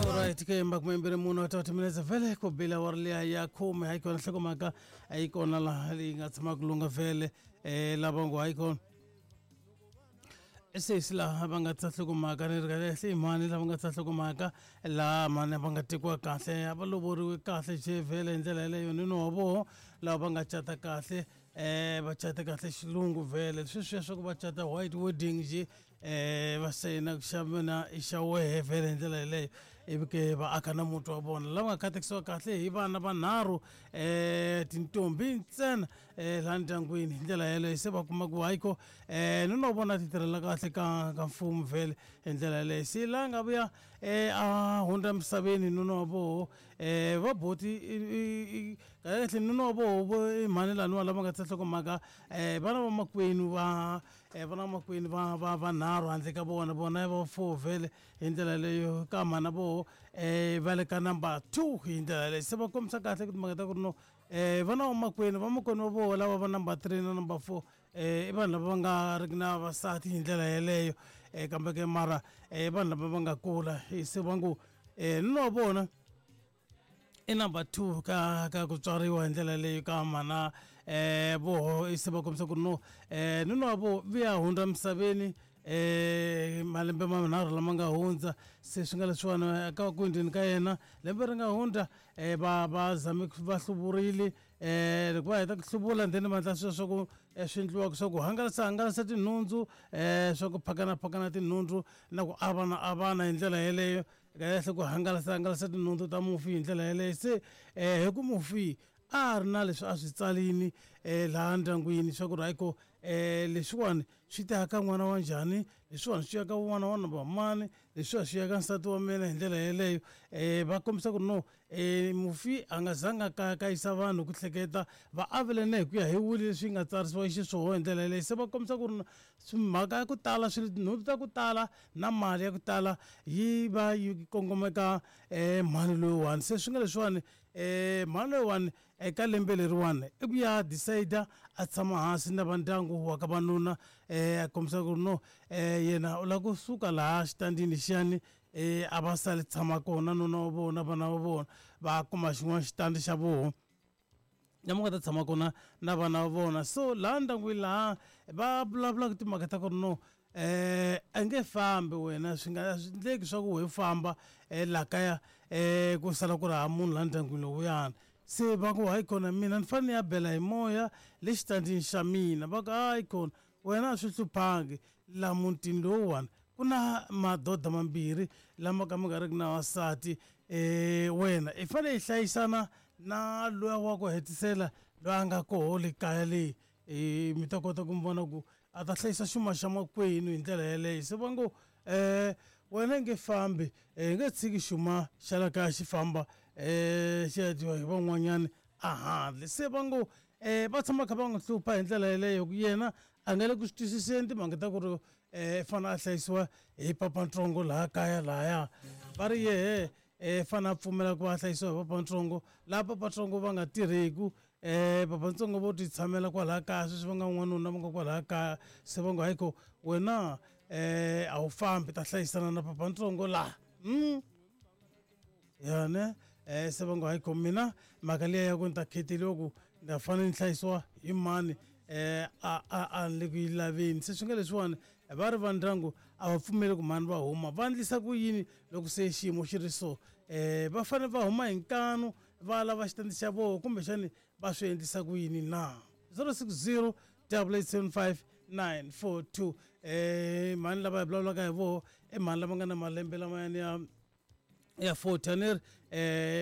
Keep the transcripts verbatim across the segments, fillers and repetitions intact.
Alright, ke makumembere munhu wa thirty minutes vhele ku bila wa ri liya ya khume hayi kona nhlokomhaka a yi kona laha leyi nga tshamaka lunga vhele um lava ngo hayi kona sesi laha va nga tsa nhlokomhaka ni ri kahle i mhani lava nga tsa nhlokomhaka laha mhani va nga tekiwa kahle a va lovoriwe kahle je vhele hi ndlela yeleyo nuna wa voho lava va nga cata kahle um va cata kahle xilungu vhele sweswiya swa ku va cata white wedding je um va sayina ku xa mina i xa wehe vhele hi ndlela yeleyo ivi ke va aka na muti wa vona lava nga katekisiwa kahle hi vana vanharhu um tintombi ntsena um laha ndyangwini hi ndlela yeleyo se va kuma ku hayiko um nuna wa vona ti tirhela kahle ka ka mfumo vhele hi ndlela yeleyo se laha nga vuya um a hundza misaveni nuna wa voho um va boti kahle nuna wa voho i mhani laniwa lava nga tsa nhlokomhaka um vana va makwenu va vana va makwenu va va vanharhu handle ka vona vona va four vhele hi ndlela leyo ka mhana voho um va le ka number two hi ndlela yaleyo se va kombisa kahle ku timhaka ta ku ri no um vana va makwenu va makwenu va voho lava va number three na number four um i vanhu lava va nga ri ki na vavasati hi ndlela yeleyo um kambe ke mara i vanhu lava va nga kula se va ngo um nuna wa vona i number two ka ka ku tswariwa hi ndlela leyi ka mhana um voho se va kombisa ku ri no um nuna wa voho vuya hundza misaveni um malembe manharhu lama nga hundza se swi nga leswiwani ka ku hundzeni ka yena lembe ri nga hundza um va va zame va hluvurile um loko va heta ku hluvula then va endla swilo swa ku swi endliwaka swa ku hangalasa hangalasa tinhundzu um swa ku phakana phakana tinhundzu na ku avana avana hi ndlela yeleyo kahle ku hangalasa hangalasa tinhundzu ta mufi hi ndlela yeleyo se um hi ku mufi a ri na leswi a swi tsalini um laha ndyangwini swa ku ri hayiko um leswiwani swi ta ka n'wana wa njhani leswiwani swi ya ka n'wana wa number mani leswiwa swi ya ka nsati wa mina hi ndlela yeleyo um va kombisa ku ri no um mufi a nga zanga kayakayisa vanhu ku hleketa va avelene hi ku ya hi wili leswi nga tsarisiwa xiswona hi ndlela yeleyo se va kombisa ku ri mhaka ya ku tala swilo tinhundzu ta ku tala na mali ya ku tala yi va yi kongomeka um mhani loyiwani se swi nga leswiwani um mhani loyiwani eka lembe leriwani i ku ya decide a tshama hansi na va ndyangu wa ka vanuna um a kombisa ku ri no um yena u lava kusuka laha xitandini lexiyani um a va sali tshama kona nuna wa vona vana va vona va kuma xin'wana xitandi xa voho lama nga ta tshama kona na vana va vona so laha ndyangwini laha va vulavulaka timhaka ta ku ri no um a nge fambi wena swi nga swi endleki swa ku we famba um laha kaya um ku sala ku ri hava munhu laha ndyangwini lowuyani se va ku hayi kona mina ni fanele ni ya bela hi moya le xitandini xa mina va ku hayi kona wena a swi hluphangi laha mutini lowuwani ku na madoda mambirhi lama ka ma nga ri ki na vasati um wena i fanele i hlayisana na luya wa ku hetisela loyi a nga koho le kaya leyi um mi ta kota ku mi vona ku a ta hlayisa xuma xa makwenu hi ndlela yeleyo se va ngo um wena i nge fambi hi nge tshiki xuma xa la kaya xi famba um xi ya dyiwa hi van'wanyani a handle se va ngo um va tshama kha va n'wi hlupha hi ndlela yeleyo ku yena a nga le ku swi twisiseni timhaka ta ku ri um fanele a hlayisiwa hi papantsongo laha kaya lahaya va ri yehe um fanele a pfumela ku va a hlayisiwa hi papantsongo laha papantsongo va nga tirheku um papantsongo vo ti tshamela kwalaya kaya sweswi va nga n'wanuna va nga kwalaya kaya se va ngo hayi ko wena um a wu fambi ta hlayisana na papantsongo laha mm. ya ne um se va ngo hayi ko mina mhaka liya ya ku ni ta kheteliwa ku ni ta fanele ni hlayisiwa hi mani um a a a ni le ku yi laveni se swi nga leswiwani va ri va ndyangu a va pfumeli ku mhani va huma va endlisa ku yini loko se xiyimo xi ri so um va fanele va huma hi nkanu va lava xitandi xa voho kumbexani va swi endlisa ku yini na zero six zero double eight seven five nine four two um mhani lava hi vulavulaka hi voho i mhani lava nga na malembe lamayani ya ya forty a ni ri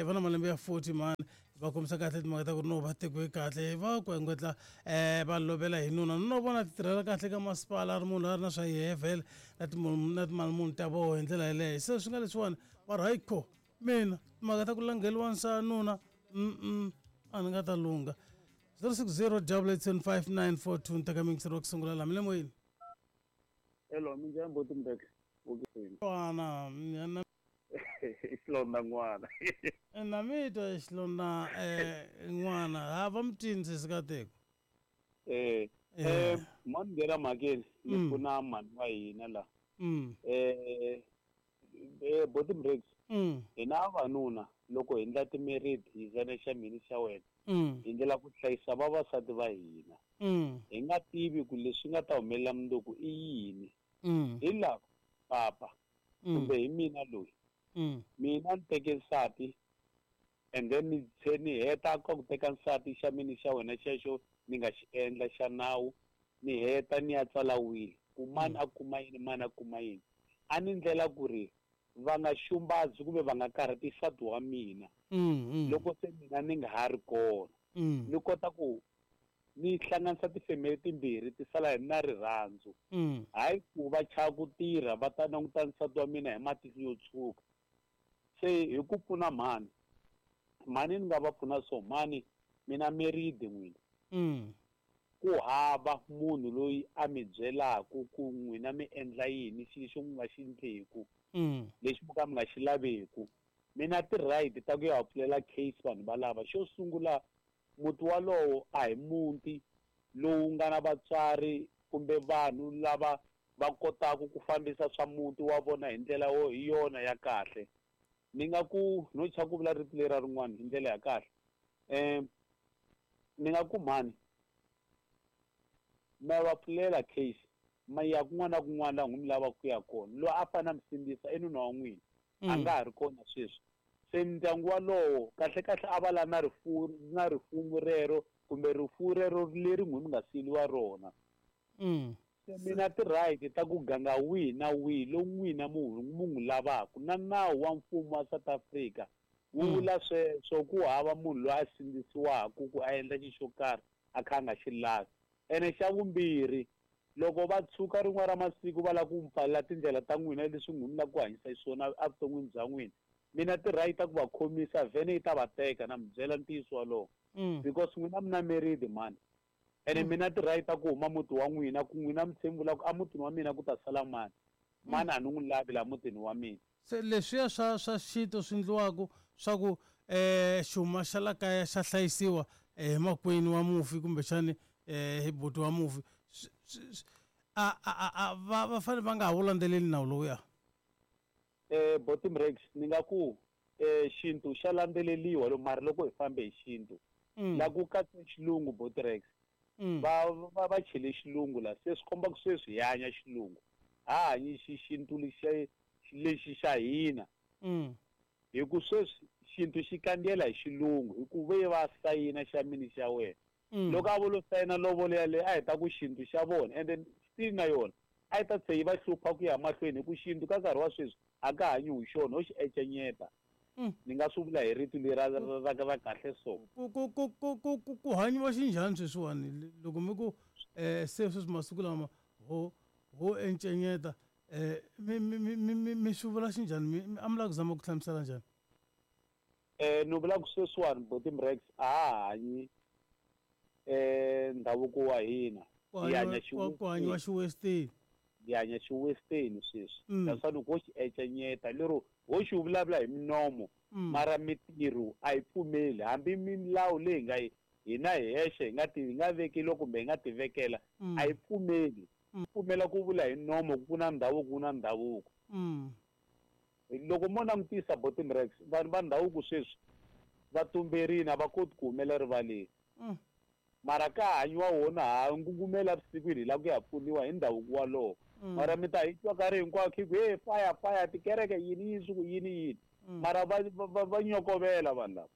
um va na malembe ya forty mhani va kombisa kahle timhaka ta ku ri no va tekiwe kahle va ku engwetla um va lovela hi nuna nuna wa vona ti tirhela kahle ka masipala a ri munhu a ri na swa yehe vhele na na timali muni ta voho hi ndlela yeleyo se swi nga leswiwani va ri hayi kho mina timhaka ta ku langheliwa nsa nuna mm a ni nga ta lungha zero six zero double eight seven five nine four two ni teka mingisero wa ku sungula laha mi le moyeni. Hello, minjhani buti Mbeki? N'wana na i xilondza n'wana. Na mi twa i xilondza n'wana ha va mutini sesi Nkateko. Eh eh mani nghena mhakeni ni pfuna mhani wa hina la. Eh Eh Bottom Rex. Mm. Hina vavanuna loko hi endla timeriti hi zana xa mina xa wena. Mm. Hi ndlela ku hlayisa vavasati va hina. Mm. Hi nga tivi ku leswi nga ta humelela mundzuku i yini. Mm. Hi lava papa Mm. kumbe hi mina loyi. Mm. Mina ni teke nsati and then ni tlhe ni heta ka ku teka nsati xa mina xa wena xexo ni nga xi endla xa nawu ni heta ni ya tsala wili ku mani a kuma yini mani a kuma yini a ni ndlela ku ri va nga xumbazi kumbe va nga karhati nsati wa mina Mm. Mm. loko se mina ni nga ha ri kona Mm. ni kota ku ni hlanganisa tifemeli timbirhi ti sala hi na rirhandzu Mm. hayi ku va chava ku tirha va ta languta nsati wa mina hi matihlo yo tshuka se hi ku pfuna mhani mhani ni nga va pfuna so mhani mina meridi n'wina Mm. ku hava munhu loyi a mi byelaku ku n'wina mi endla yini xilo xo mi nga xi endleku Mm. lexi mo ka mi nga xi laveku mina ti-right ta ku ya va pfulela case vanhu va lava xo sungula muti walowo a hi muti lowu nga na vatswari kumbe vanhu lava va kotaka ku fambisa swa muti wa vona hi ndlela wo hi yona ya kahle ni nga ku no chava ku vula rito lera rin'wana hi ndlela ya kahle um ni nga ku mhani ma va pfulela case ma ya kun'wana na kun'wana laha n'wi mi lavaka ku ya kona loyi a fanele a mi sindzisa i nuna wa n'wina a Mm. nga ha ri kona sweswi se ndyangu walowo kahle kahle a va la na rifuwo na rifumo rero kumbe rifuwo rero leri n'wi mi nga siyeriwa rona Mm. se mina ti-right ta ku ganga wihi na wihi lowu n'wina mu mu n'wi lavaka na nawu wa mfumo wa South Africa wu Mm. vula sweswo ku hava munhu loyi a sindzisiwaka ku a endla xilo xo karhi a kha a nga xi lavi ene xa vumbirhi loko va tshuka rin'wana ra masiku va lava ku mi pfalela tindlela ta n'wina leswi n'wi mi lava ku hanyisa xiswona evuton'wini bya n'wina mina ti-right ta ku va khomisa vhene yi ta va teka na mi byela ntiyiso walowo Mm. because n'wina mi na meridi mani ene Mm. mina ti-right ta ku huma muti wa n'wina ku n'wina mi tshembi vula ku emutini wa mina ku ta sala mani mani a ni n'wi lavi laha mutini wa mina Se leswiya swa swa xintu swi endliwaka swa ku eh xuma xa la kaya xa hlayisiwa eh, hi makwenu wa mufi kumbexani eh hi buti wa mufi swi- swi- swi- a a a a va va fanele va nga ha wu landzeleli nawu lowuya eh Bottom Rex ni nga ku eh xintu xa landzeleliwa lo mara loko hi fambe hi xintu Mm. la ku katse xilungu Botrex Mm. va va va chele xilungu la se swi komba ku sweswi hi hanya xilungu ha hanyi xi xintu lexi lexi xa hina Mm. hi ku sweswi xintu xi kandziyela hi xilungu hi ku ve va sayina xa mini xa wena Mm. loko a vo lo sayina lovolo yaleyo a hi ta ku xintu xa vona and then still na yona a yi ta tlhe yi va hlupha ku ya mahlweni hi ku xintu ka nkarhi wa sweswi a ka hanyiwi xona ho xi encenyeta Mm. ni nga swi vula hi rito leri ra ra ra ra kahle so ku ku ku ku ku ku ku hanyiwa xinjhani sweswiwani loko mi ku eh se sweswi masiku lama ho ho encenyeta eh mi mi mi mi mi- mi swi vula xinjhani mi mi- a mi lava ku zama ku hlamusela njhani eh ni vula ku sweswiwani Bottom Rex a ha hanyi eh ndhavuko wa hina ku hi hanya hanyiwa ku- ku hanyiwa xiwesteni hi hanya xiwesteni sweswi Mm. that's why loko ho xi encenyeta lero ho xi vulavula hi minomo Mm. mara mitirho a yi pfumeli hambi milawu leyi nga yi hina hi hexe hi nga ti hi nga vekeliwa kumbe hi nga ti vekela Mm. a yi pfumeli Mm. pfumela ku vula hi nomo ku na ndhavuko ku na ndhavuko Mm. loko mo langutisa Bottom Rex vanhu va ndhavuko sweswi va tumberini a va koti ku humela rivaleni Mm. mara ka hanyiwa wona ha ngungumela vusikwini hi lava ku ya pfuniwa hi ndhavuko walowo Mm. mara mi ta hi twa nkarhi hinkwawo khi ku hey fire fire tikereke yini yini swi ku yini yini Mm. mara va va- va va nyokovela vanhu lava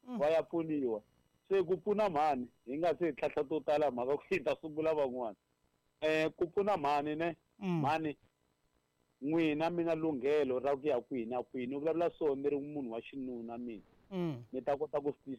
Mm. va ya pfuniwa se ku pfuna mhani hi nga se hi tlhahla to tala mhaka ku hi ta sungula van'wana um ku pfuna mhani ne Mm. mhani n'wina mi na lunghelo ra ku ya kwihi na kwihi ni vulavula so ni ri munhu wa xinuna mina Mm. ni ta kota ku swi